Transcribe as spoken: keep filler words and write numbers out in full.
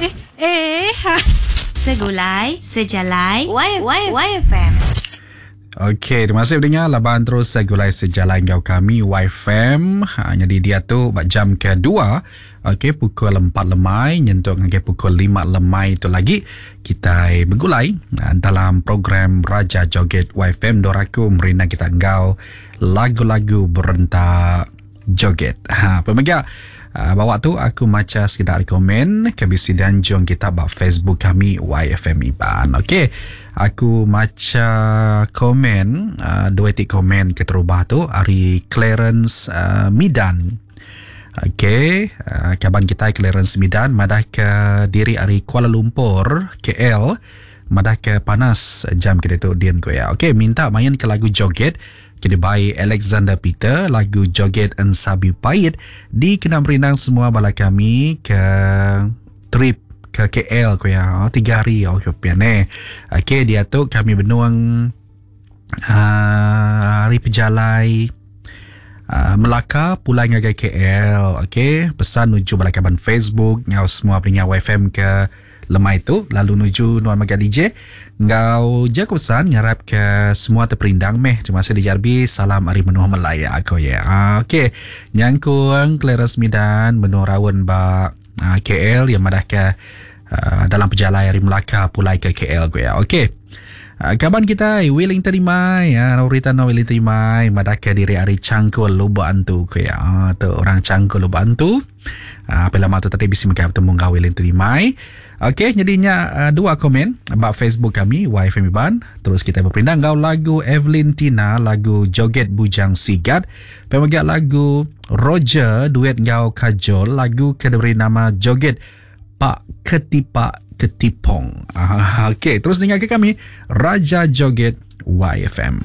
Eh eh ha. Segulai Sejalai Y Y Y F M. Okey, terima kasih pendengar laban terus Segulai Sejalai enggau kami Y F M. Ha, jadi dia tu bak jam kedua. Okey, pukul empat lemai nyentuk ngagai pukul lima lemai tu lagi kita bergulai dalam program Raja Joget Y F M Doraku merina kita enggau lagu-lagu berentak joget. Ha, pemega Uh, bawa tu aku maca sekedar komen ke bisi danjung kita bak Facebook kami Y F M Iban. Okey, aku maca komen uh, dua tik komen keterubah tu ari Clarence uh, Midan. Okey, uh, kaban kita Clarence Midan madah ke diri ari Kuala Lumpur K L, madah ke panas jam kita tu dian ko ya. Okey, minta main ke lagu joget kini by Alexander Peter, lagu Joget Ensabi Pahit di kena merindang semua bala kami ke trip ke K L ko ya. Oh, tiga hari okey piane. Okey, dia tu kami benuang uh, hari pejalai uh, Melaka pulang ngagai K L. Okey, pesan nuju bala kaban Facebook ngau semua pendengar Y F M ke lemai tu lalu nuju nuan maga D J ngau jago pesan ngarap ke semua terperindang meh. Terima kasih D J R B, salam ari menua Melaya aku ya. Okey, nyangkung Clarence Midan menua raun ba uh, K L yang madah ke uh, dalam perjalanan ari Melaka pulai ke K L ku ya. Okey. Uh, kaban kita Wellington Imai, ya, Rita no Wellington Imai madah ke diri ari Cangkul Lubuk Antu ku ya. Uh, tu orang Cangkul Lubuk Antu. Uh, apa lama tu tadi bisi mereka bertemu ngau Wellington Imai. Okey, jadinya uh, dua komen about Facebook kami Y F M Iban. Terus kita berperindang ngau lagu Evelyn Tina, lagu Joget Bujang Sigat. Pemegat lagu Roger duet ngau Kajol, lagu ke diberi nama Joget Pak Ketipak Ketipong. Uh, okey, terus dengar ke kami Raja Joget Y F M.